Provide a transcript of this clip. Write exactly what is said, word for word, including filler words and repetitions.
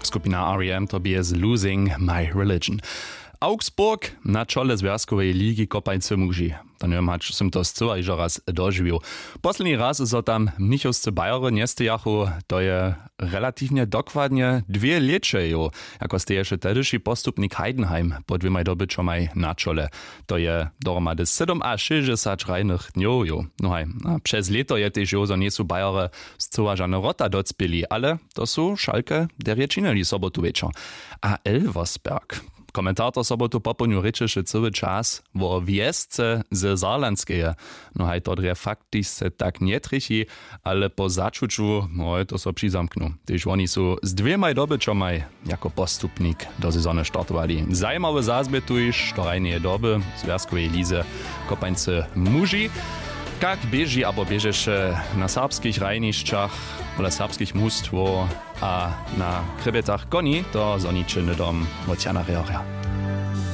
Skupina R E M to bě z Losing My Religion. Augsburg na čole zwjazkoweje ligi kopańcy muži. To njewěm hač sym to scyła hižo raz dožiwił. Posledni raz zo tam mnichowscy bajery njestejachu, to je relatiwnje dokładnje dwě lěće jow, jako steješe tehdyši postupnik Heidenheim po dwěmaj dobyćomaj na čole. To je dohromady sydomašěsćdźesać hrajnych dnjow jow. No haj, a přez lěto je tež jow zo njejsu bajery scyła žane wrota docpěli, ale to su šalke derje činili sobotu wječor. A elversberg, komentator sobotu popołdnju rěčeše cyły čas wo wjesce ze zarlandskeje. No haj to drje faktičce tak njetrjechi, ale po začuću moje to so přizamknu, tež woni su z dwěmaj dobyćomaj jako postupnik do sezony startowali. Zajimawy zazbětuj što hrajneje doby zwjazkowej lize kopańcy muži. Kak běži abo běžeše na serbskich hrajnišćach pola serbskich mustwow a na krjebjetach koni, to zhoniće hnydom wot jana rjorja.